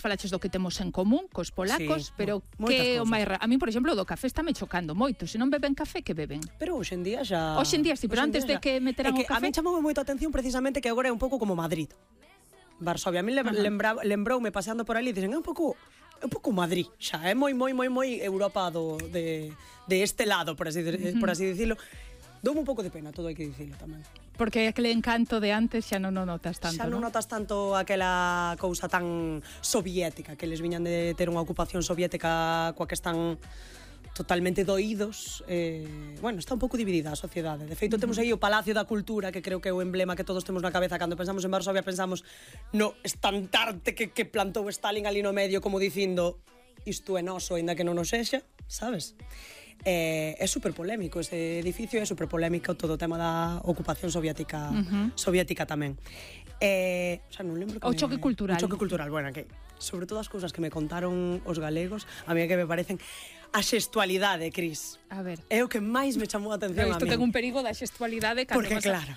Falaches do que temos en común cos polacos, pero que o máis a mí, por exemplo, do café está me chocando moito. Se non beben café, que beben? Pero hoxe en día xa... Hoxe en día sí, pero antes de que meteran o café... A mí chamoume moito a atención precisamente que agora é un pouco como Madrid. Varsovia, a mí lembroume paseando por ali, dicen, é un pouco Madrid, xa, é moi Europa de este lado, por así dicilo. Doume un pouco de pena, todo hai que dicilo tamén. Porque aquele encanto de antes xa non o notas tanto, xa non notas tanto aquela cousa tan soviética, que les viñan de ter unha ocupación soviética coa que están totalmente doídos. Bueno, está un pouco dividida a sociedade. De feito, temos aí o Palacio da Cultura, que creo que é o emblema que todos temos na cabeza cando pensamos en Varsovia, pensamos no estandarte que plantou Stalin ali no medio, como dicindo, isto é noso, ainda que non nos sexa, sabes? É super polémico ese edificio, é super polémico todo o tema da ocupación soviética tamén. Xa non lembro que o choque cultural. O choque cultural, bueno, que sobre todo as cousas que me contaron os galegos, a mí que me parecen a xestualidade, Cris. A ver. É o que máis me chamou a atención a mí. Isto ten un perigo da xestualidade cando porque claro,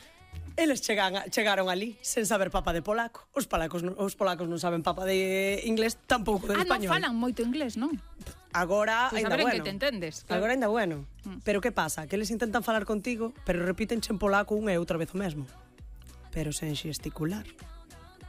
eles chegaron ali sen saber papa de polaco. Os polacos non saben papa de inglés, tampouco de español. Non falan moito inglés, non? Agora pues ainda bueno. Que te entendes. Claro. Agora ainda bueno. Pero que pasa? Que eles intentan falar contigo, pero repítenche en polaco unha e outra vez o mesmo. Pero sen xesticular.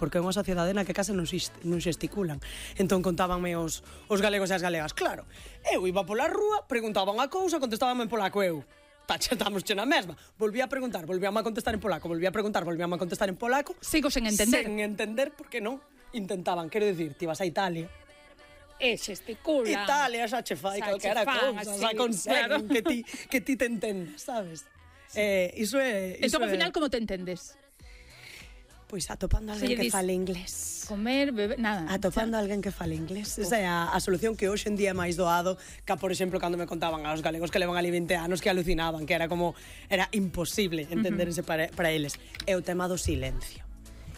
Porque é unha sociedade na que case non xesticulan. Entón contábanme os galegos e as galegas. Claro, eu iba pola rúa, preguntaba unha cousa, contestabanme en polaco eu. Estamos na mesma. Volvía a preguntar, volvíame a contestar en polaco, volvía a preguntar, volvíame a contestar en polaco. Sigo sen entender. Sen entender, porque non intentaban. Quero dicir, ti vas a Italia, e xesticulan. Italia xa che fai calquera cousa, xa conseguen que ti te entendas, sabes? Iso é... Entón, ao final, como te entendes? Pois atopando alguén que fale inglés. Comer, beber, nada. Atopando alguén que fale inglés. Esa é a solución que hoxe en día é máis doado que, por exemplo, cando me contaban aos galegos que levan ali 20 anos que alucinaban, que era imposible entenderse para eles. É o tema do silencio.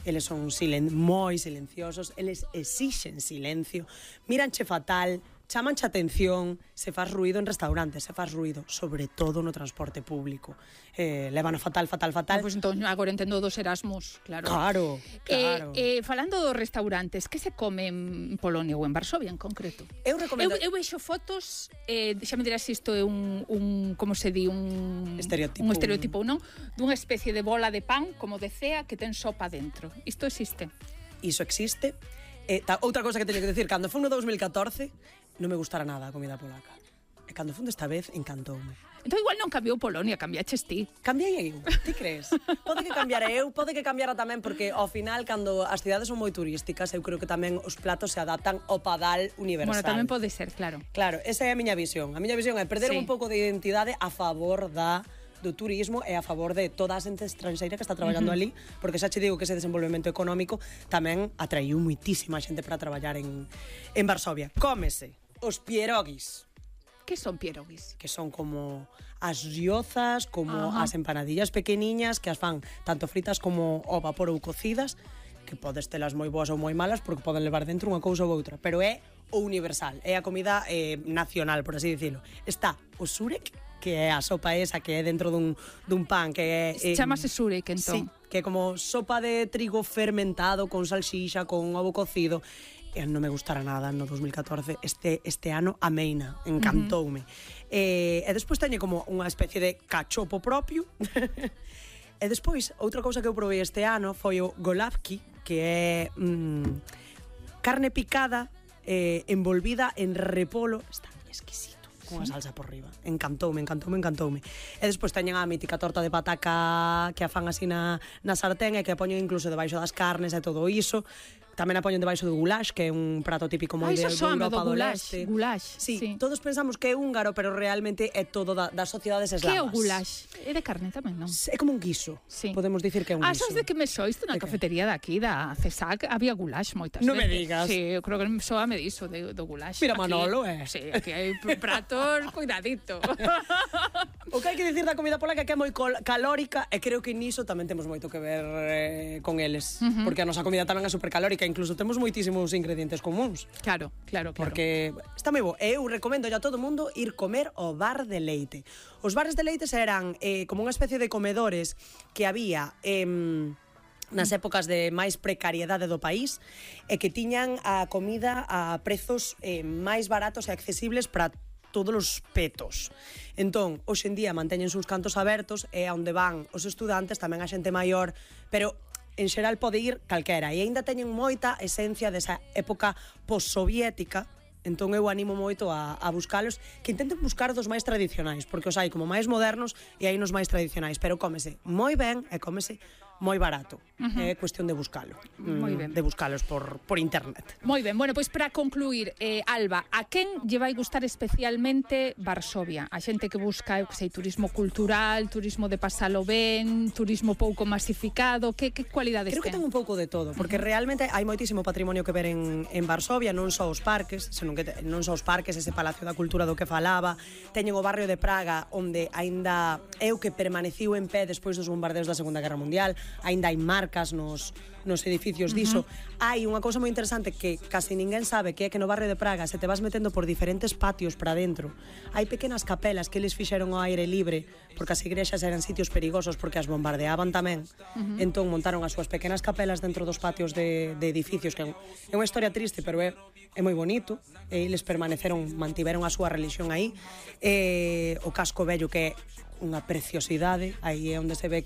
Eles son moi silenciosos, eles exixen silencio, míranche fatal, chamanche atención, se faz ruido en restaurantes, se faz ruido, sobre todo no transporte público. Levan fatal. Pois entón, agora entendo dos Erasmus, claro. Claro. Falando dos restaurantes, que se come en Polonia ou en Varsovia en concreto? Eu recomendo... Eu vexo fotos, xa me dirás se isto é un como se di, un estereotipo, non? Dunha especie de bola de pan, como de cea, que ten sopa dentro. Isto existe? Iso existe. Outra cosa que teño que decir, cando foi no 2014, non me gustara nada a comida polaca. E cando fun desta vez, encantoume. Entón igual non cambiou Polonia, cambiaches ti. Cambiei eu, ti crees? Pode que cambiara eu, pode que cambiara tamén, porque ao final, cando as cidades son moi turísticas, eu creo que tamén os platos se adaptan ao padal universal. Bueno, tamén pode ser, claro. Claro, esa é a miña visión. A miña visión é perder un pouco de identidade a favor do turismo e a favor de toda a xente estranxeira que está traballando ali, porque xa che digo que ese desenvolvemento económico tamén atraiu muitísima xente para traballar en Varsovia. Cómese os pierogis. Que son pierogis? Que son como as riozas, como as empanadillas pequeniñas, que as fan tanto fritas como ao vapor ou cocidas, que podes telas moi boas ou moi malas porque poden levar dentro unha cousa ou outra, pero é o universal, é a comida nacional, por así dicilo. Está o surek, que é a sopa esa que é dentro dun pan, que é... Chámase surek, entón. Sí, que é como sopa de trigo fermentado con salsicha, con ovo cocido. Non me gustara nada no 2014. Este ano ameina, encantoume. E despois teñe como unha especie de cachopo propio. E despois, outra cousa que eu provei este ano foi o golavki, que é carne picada envolvida en repolo. Está exquisito, con a salsa por riba. Encantoume. E despois teñen a mítica torta de pataca que a fan así na sartén e que a poñen incluso debaixo das carnes e todo iso. Tamén a poñen debaixo do goulash, que é un prato típico moi de Europa do Leste. Goulash. Sí, todos pensamos que é húngaro, pero realmente é todo das sociedades eslavas. Que é o goulash? É de carne tamén, non? É como un guiso. Sí. Podemos dicir que é un guiso. Sabes de que me sois? Na cafetería daqui, da CESAC, había goulash moitas veces. Non me digas. Sí, eu creo que soame diso do goulash. Mira, Manolo, Sí, aquí hai pratos, cuidadito. O que hai que dicir da comida polaca que é moi calórica, e creo que niso tamén temos moito que ver con eles, porque a nosa comida tamén é supercalórica, incluso temos moitísimos ingredientes comuns. Claro. Porque está moi bo. Eu recomendo a todo mundo ir comer ao bar de leite. Os bares de leite eran como unha especie de comedores que había nas épocas de máis precariedade do país, e que tiñan a comida a prezos máis baratos e accesibles para todos os petos. Entón, hoxe en día manteñen os cantos abertos e onde van os estudantes, tamén a xente maior, pero en xeral pode ir calquera, e aínda teñen moita esencia desa época postsoviética. Entón eu animo moito a buscalos, que intenten buscar dos máis tradicionais, porque os hai como máis modernos e hai nos máis tradicionais, pero cómese moi ben e cómese moi barato. É cuestión de buscalo. De buscalos por internet. Moi ben. Bueno, pois para concluir, Alba, a quen lle vai gustar especialmente Varsovia? A xente que busca, eu que sei, turismo cultural, turismo de pasalo ben, turismo pouco masificado, que cualidades ten? Creo que ten un pouco de todo, porque realmente hai moitísimo patrimonio que ver en Varsovia, non só os parques, senón que non só os parques, ese Palacio da Cultura do que falaba, teñen o barrio de Praga, onde aínda é o que permaneciu en pé despois dos bombardeos da Segunda Guerra Mundial, aínda hai marcas nos edificios diso. Hai unha cousa moi interesante que casi ninguén sabe, que é que no barrio de Praga se te vas metendo por diferentes patios para dentro. Hai pequenas capelas que eles fixeron ao aire libre, porque as igrexas eran sitios perigosos porque as bombardeaban tamén. Entón montaron as súas pequenas capelas dentro dos patios de edificios, que é unha historia triste, pero é moi bonito. E eles mantiveron a súa religión aí. O casco vello, que é unha preciosidade, aí é onde se ve,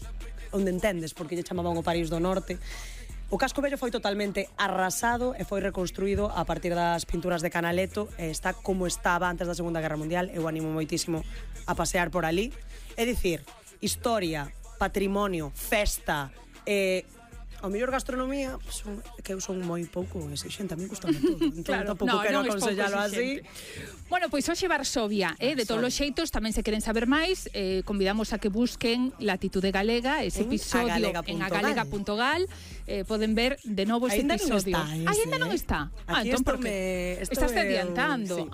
onde entendes porque lle chamaban o París do Norte. O casco vello foi totalmente arrasado e foi reconstruído a partir das pinturas de Canaletto, e está como estaba antes da Segunda Guerra Mundial. Eu animo moitísimo a pasear por ali. É dicir, historia, patrimonio, festa, ao mellor gastronomía, que eu son moi pouco exixente, a mí gusta todo. Entón, tampouco quero aconsellalo así. Bueno, pois hoxe Varsovia, de todos os xeitos, tamén se queren saber máis, convidamos a que busquen Latitude Galega, ese episodio en agalega.gal, poden ver de novo ese episodio. Ainda non está. Entón, porque estás adiantando.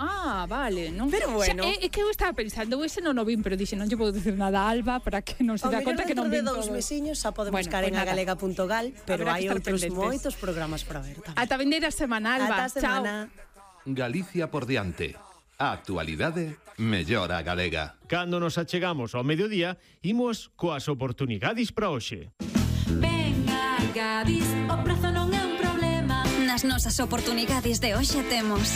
Vale. Pero bueno. É que eu estaba pensando, ese non o vin, pero dixe, non lle vou dicir nada a Alba para que non se dá conta que non vin todo. Dentro de 2 mesiños xa poden buscar en agalega.gal, pero hai outros moitos programas para ver tamén. Ata vindeira semana, Alba. Chao. Galicia por diante. A actualidade mellora galega. Cando nos achegamos ao mediodía, imos coas oportunidades para hoxe. Venga, Gadis, o prezo non é un problema. Nas nosas oportunidades de hoxe temos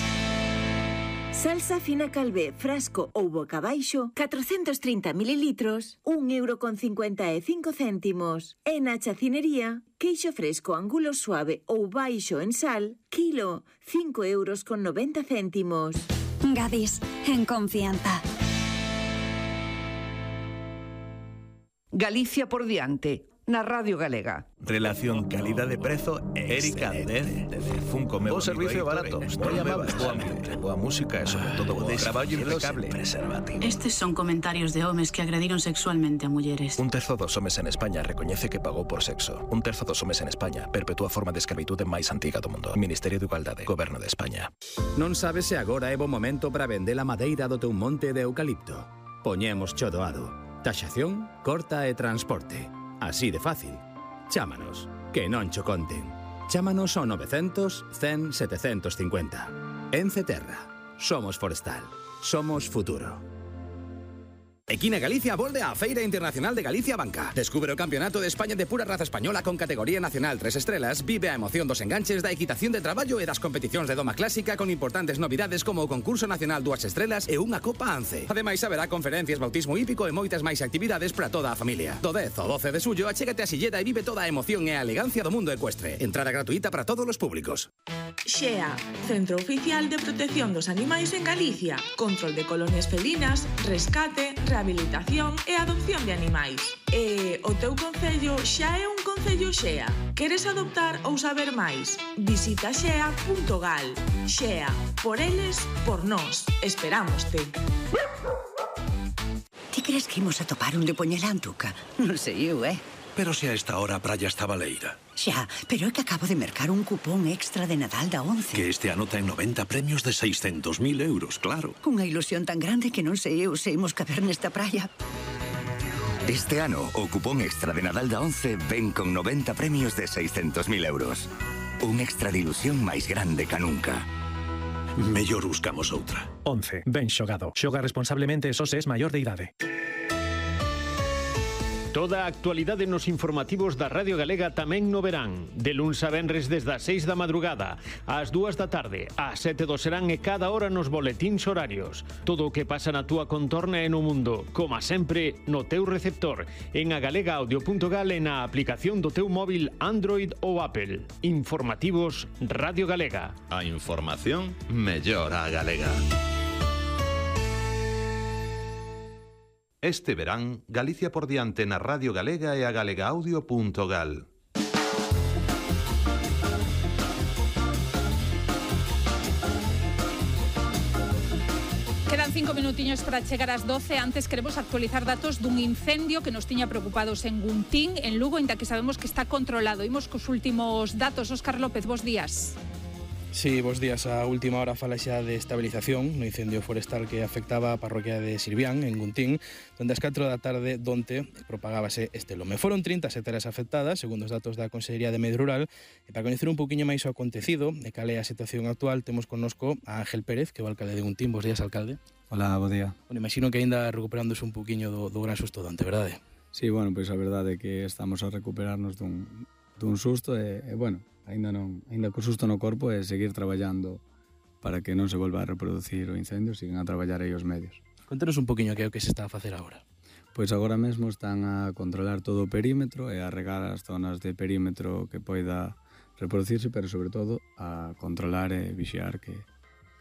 salsa fina Calvé, frasco ou boca baixo, 430 mililitros, 1,55 €. E na chacinería, queixo fresco angulo suave ou baixo en sal, kilo, 5,90 €. Gadis, en confianza. Galicia por diante, na Radio Galega. Relación calidade-prezo Erika Dez de Funko Meu. O servicio barato, non llamabas, boa música e sobre todo bo traballo impecable. Estes son comentarios de homes que agrediron sexualmente a mulleres. 1/3 dos homes en España recoñece que pagou por sexo. 1/3 dos homes en España perpetúa a forma de escravitude máis antiga do mundo. Ministerio de Igualdade, Goberno de España. Non sabes se agora é bo momento para vender a madeira do teu monte de eucalipto. Poñemos cho doado. Taxación, corta e transporte. Así de fácil. Chámanos, que non cho conten. Chámanos ao 900 100 750. Ence Terra. Somos forestal. Somos futuro. Equina Galicia volve á Feira Internacional de Galicia Banca. Descubre o Campeonato de España de pura raza española con categoría nacional 3 estrelas, vive a emoción dos enganches da equitación de traballo e das competicións de doma clásica con importantes novidades como o concurso nacional 2 estrelas e unha Copa Ance. Ademais, haberá conferencias, bautismo hípico e moitas máis actividades para toda a familia. Do 10 ao 12 de xullo, achégate a Silleda e vive toda a emoción e a elegancia do mundo ecuestre. Entrada gratuita para todos os públicos. XEA, Centro Oficial de Protección dos Animais en Galicia. Control de colonias felinas, rescate, rehabilitación e adopción de animais. E o teu concello xa é un concello XEA? Queres adoptar ou saber máis? Visita xea.gal. XEA, por eles, por nós. Esperámoste. Ti crees que imos a topar un de poñela Antuca? Non sei eu, Pero se a esta hora a praia está baleira. Xa, pero é que acabo de mercar un cupón extra de Nadal da 11. Que este ano ten 90 premios de 600.000 euros, claro. Unha ilusión tan grande que non sei eu se imos caber nesta praia. Este ano, o cupón extra de Nadal da 11 ven con 90 premios de 600.000 euros. Un extra de ilusión máis grande ca nunca. Mellor buscamos outra. 11. Ben xogado. Xoga responsablemente e só se es maior de idade. Toda a actualidade nos informativos da Radio Galega tamén no verán. De luns a venres desde as 6 da madrugada, ás 2 da tarde, ás 7 do serán e cada hora nos boletíns horarios. Todo o que pasa na túa contorna e no mundo, como sempre, no teu receptor, en agalegaudio.gal e na aplicación do teu móvil Android ou Apple. Informativos Radio Galega. A información mellora a galega. Este verán, Galicia por diante na Radio Galega e a galegaudio.gal. Quedan 5 minutiños para chegar ás 12. Antes queremos actualizar datos dun incendio que nos tiña preocupados en Guntín, en Lugo, inda que sabemos que está controlado. Imos cos últimos datos. Óscar López, bos días. Sí, bos días. A última hora fala xa de estabilización no incendio forestal que afectaba a parroquia de Sirvián, en Guntín, donde ás 4 da tarde donte propagábase este lume. Foron 30 hectáreas afectadas, segundo os datos da Consellería de Medio Rural, e para coñecer un poquinho máis o acontecido e cal é a situación actual, temos connosco a Ángel Pérez, que é o alcalde de Guntín. Bos días, alcalde. Hola, bo día. Bueno, imagino que aínda recuperándose un poquinho do gran susto dante, verdade? Sí, bueno, pois a verdade é que estamos a recuperarnos dun susto e bueno, aínda co susto no corpo e seguir traballando para que non se volva a reproducir o incendio, siguen a traballar aí os medios. Contanos un poquinho que é o que se está a facer agora. Pois agora mesmo están a controlar todo o perímetro e a regar as zonas de perímetro que poida reproducirse, pero sobre todo a controlar e vixiar que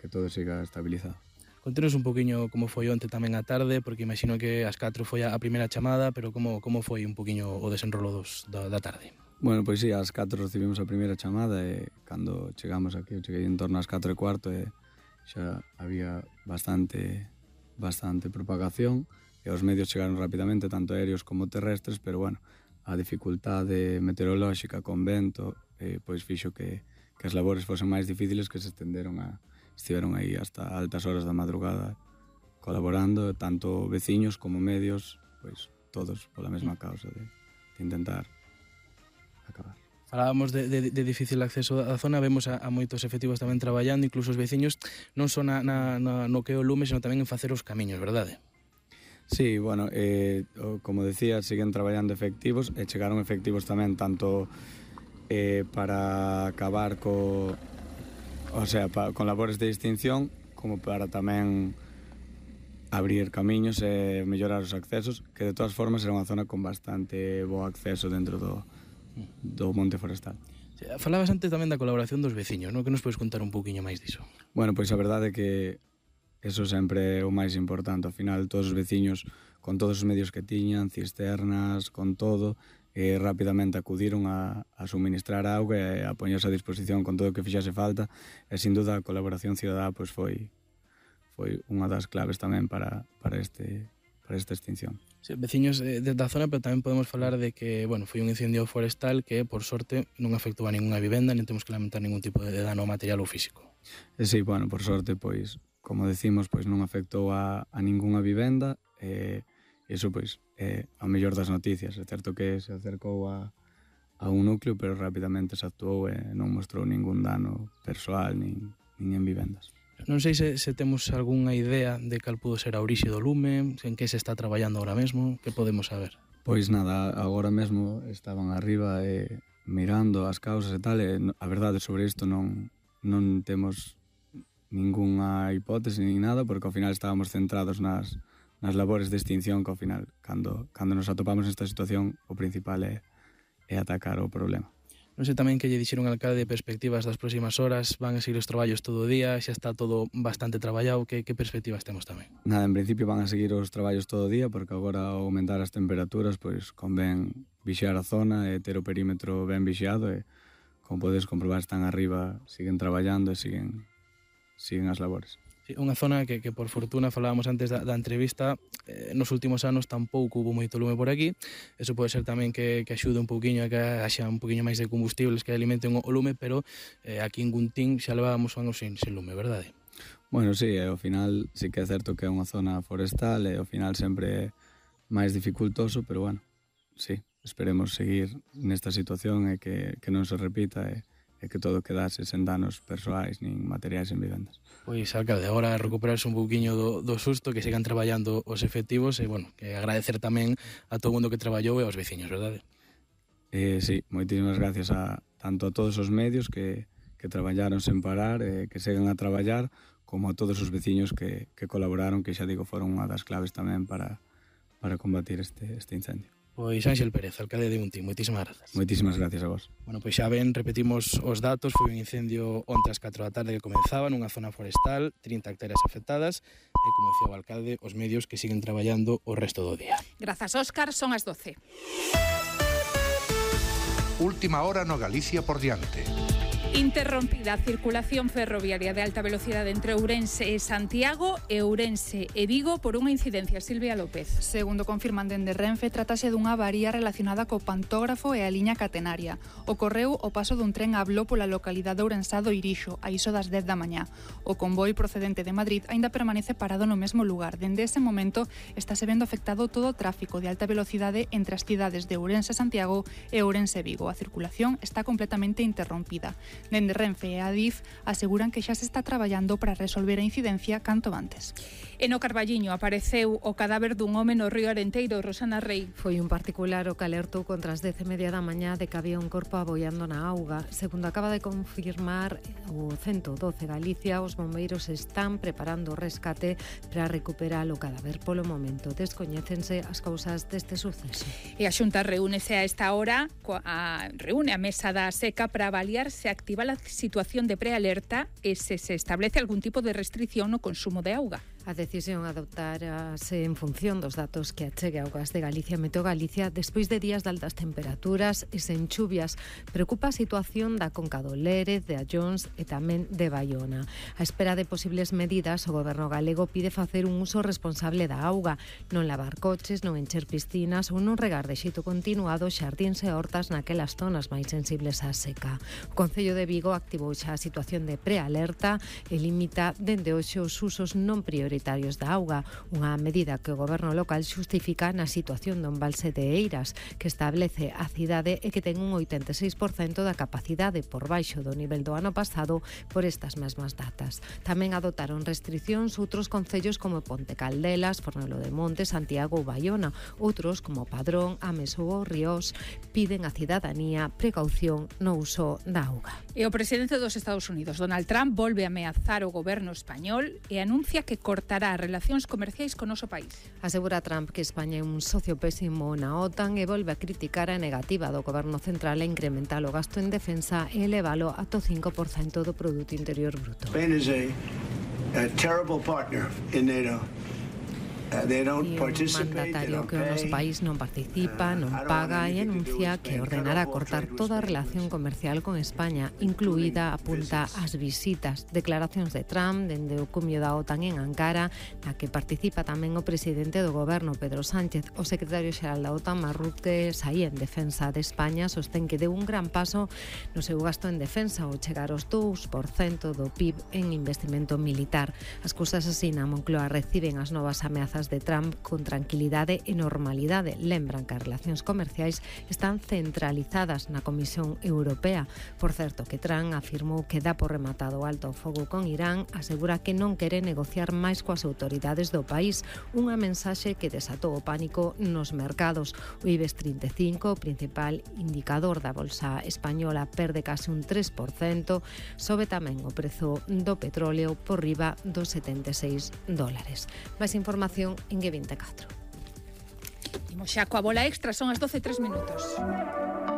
todo siga estabilizado. Contanos un poquinho como foi onte tamén a tarde, porque imagino que ás 4 foi a primeira chamada, pero como foi un poquinho o desenrolo da tarde? Bueno, pois sí, ás 4 recibimos a primeira chamada e cando chegamos aquí, eu cheguei en torno ás 4:15 e xa había bastante propagación e os medios chegaron rapidamente, tanto aéreos como terrestres, pero bueno, a dificultade meteorolóxica con vento pois fixo que as labores fosen máis difíciles, que estiveron aí hasta altas horas da madrugada colaborando, tanto veciños como medios, pois todos pola mesma causa de intentar acabar. Falábamos de difícil acceso á zona, vemos a moitos efectivos tamén traballando, incluso os veciños non só no que o lume, senón tamén en facer os camiños, verdade? Sí, bueno, como decía, siguen traballando efectivos e chegaron efectivos tamén tanto para acabar con labores de extinción, como para tamén abrir camiños e mellorar os accesos, que de todas formas era unha zona con bastante bo acceso dentro do monte forestal. Falabas antes tamén da colaboración dos veciños, non? Que nos podes contar un pouquiño máis diso? Bueno, pois a verdade é que eso sempre é o máis importante. Ao final, todos os veciños, con todos os medios que tiñan, cisternas, con todo, rapidamente acudiron a suministrar auga e a poñerse a disposición con todo o que fixase falta, e sin duda a colaboración cidadá pois foi unha das claves tamén para esta extinción. Sí, veciños da zona, pero tamén podemos falar de que, bueno, foi un incendio forestal que, por sorte, non afectou a ninguna vivenda, nem temos que lamentar ningún tipo de dano material ou físico. Sí, bueno, por sorte, pois, como decimos, pois non afectou a ninguna vivenda, iso, pois, é a mellor das noticias. É certo que se acercou a un núcleo, pero rapidamente se actuou e non mostrou ningún dano persoal, nin en vivendas. Non sei se temos algunha idea de cal pudo ser a orixe do lume, en que se está traballando ahora mesmo, que podemos saber? Pois nada, agora mesmo estaban arriba mirando as causas e tal, e a verdade sobre isto non temos ningunha hipótese nin nada, porque ao final estábamos centrados nas labores de extinción, que ao final, cando nos atopamos nesta situación, o principal é atacar o problema. Non sei tamén que lle dixeron ao alcalde de perspectivas das próximas horas, van a seguir os traballos todo o día, xa está todo bastante traballado, que perspectivas temos tamén? Nada, en principio van a seguir os traballos todo o día, porque agora ao aumentar as temperaturas, pois convén vixiar a zona e ter o perímetro ben vixiado, e como podes comprobar están arriba, siguen traballando e siguen as labores. Sí, unha zona que por fortuna, falábamos antes da entrevista, nos últimos anos tampouco hubo moito lume por aquí. Eso pode ser tamén que axude un pouquiño a que haxa un pouquiño máis de combustibles que alimenten o lume, pero aquí en Guntín xa levábamos anos sin lume, verdade? Bueno, sí, ao final sí que é certo que é unha zona forestal e ao final sempre é máis dificultoso, pero bueno, sí, esperemos seguir nesta situación e que non se repita e que todo quedase sen danos persoais nin materiais en vivendas. Pois, alcalde, agora recuperarse un pouquiño do susto, que sigan traballando os efectivos e, bueno, que agradecer tamén a todo o mundo que traballou e aos veciños, verdade? Sí, moitísimas gracias tanto a todos os medios que traballaron sen parar, que seguen a traballar, como a todos os veciños que colaboraron, que xa digo, foron unha das claves tamén para combatir este incendio. Pois Ánxel Pérez, alcalde de Untín, moitísimas grazas. Moitísimas gracias a vos. Bueno, pois xa ven, repetimos os datos, foi un incendio onte ás 4 da tarde que comenzaba nunha zona forestal, 30 hectáreas afectadas, e como decía o alcalde, os medios que siguen traballando o resto do día. Grazas, Óscar, son as 12. Última hora no Galicia por diante. Interrompida a circulación ferroviaria de alta velocidade entre Ourense e Santiago e Ourense e Vigo por unha incidencia. Silvia López. Segundo confirman dende Renfe, tratase dunha avaría relacionada co pantógrafo e a liña catenaria. Ocorreu o paso dun tren a Bló pola localidade ourensá do Irixo, a iso das 10 da mañá. O convoi procedente de Madrid aínda permanece parado no mesmo lugar. Dende ese momento estáse vendo afectado todo o tráfico de alta velocidade entre as cidades de Ourense Santiago e Ourense Vigo. A circulación está completamente interrompida. Dende Renfe e Adif aseguran que xa se está traballando para resolver a incidencia canto antes. E no Carballiño apareceu o cadáver dun home no río Arenteiro. Rosana Rei. Foi un particular o que alertou contra as 10:30 da mañá de que había un corpo aboiando na auga. Segundo acaba de confirmar o 112 Galicia, os bombeiros están preparando o rescate para recuperar o cadáver. Polo momento descoñécense as causas deste suceso. E a Xunta reúnese a esta hora, reúne a mesa da seca para avaliar se activa a situación de prealerta e se establece algún tipo de restricción no consumo de auga. A decisión adoptarase en función dos datos que achegue Augas de Galicia e Meteo Galicia despois de días de altas temperaturas e sen chuvias. Preocupa a situación da Conca do Lérez, de Allóns e tamén de Baiona. A espera de posibles medidas, o Goberno galego pide facer un uso responsable da auga, non lavar coches, non encher piscinas ou non regar de xeito continuado xardíns e hortas naquelas zonas máis sensibles á seca. O Concello de Vigo activou xa a situación de prealerta e limita dende hoxe os usos non prioritarios da auga, unha medida que o Goberno local xustifica na situación do embalse de Eiras, que establece a cidade e que ten un 86% da capacidade por baixo do nivel do ano pasado por estas mesmas datas. Tamén adotaron restriccións outros concellos como Ponte Caldelas, Fornelo de Monte, Santiago ou Baiona. Outros, como Padrón, Ames ou Ríos, piden á cidadanía precaución no uso da auga. E o presidente dos Estados Unidos, Donald Trump, volve a ameazar o goberno español e anuncia que cortará relacións comerciais con o noso país. Asegura Trump que España é un socio pésimo na OTAN e volve a criticar a negativa do goberno central a incrementar o gasto en defensa e elevalo ata o 5% do Produto Interior Bruto. Spain is a terrible partner in NATO. E un mandatario que o noso país non participa, non paga e anuncia que ordenará cortar toda a relación comercial con España, incluída, apunta, as visitas. Declaracións de Trump dende o cumio da OTAN en Ankara, na que participa tamén o presidente do goberno, Pedro Sánchez. O secretario xeral da OTAN, Marrute Saí, en defensa de España, sostén que deu un gran paso no seu gasto en defensa ao chegar aos 2% do PIB en investimento militar. As cousas así na Moncloa reciben as novas ameazas de Trump con tranquilidade e normalidade. Lembran que as relacións comerciais están centralizadas na Comisión Europea. Por certo, que Trump afirmou que dá por rematado o alto fogo con Irán, asegura que non quere negociar máis coas autoridades do país, unha mensaxe que desatou o pánico nos mercados. O IBEX 35, o principal indicador da bolsa española, perde case un 3%, sobe tamén o prezo do petróleo por riba dos $76. Máis información en G24. Imos xa coa bola extra, son as 12:03.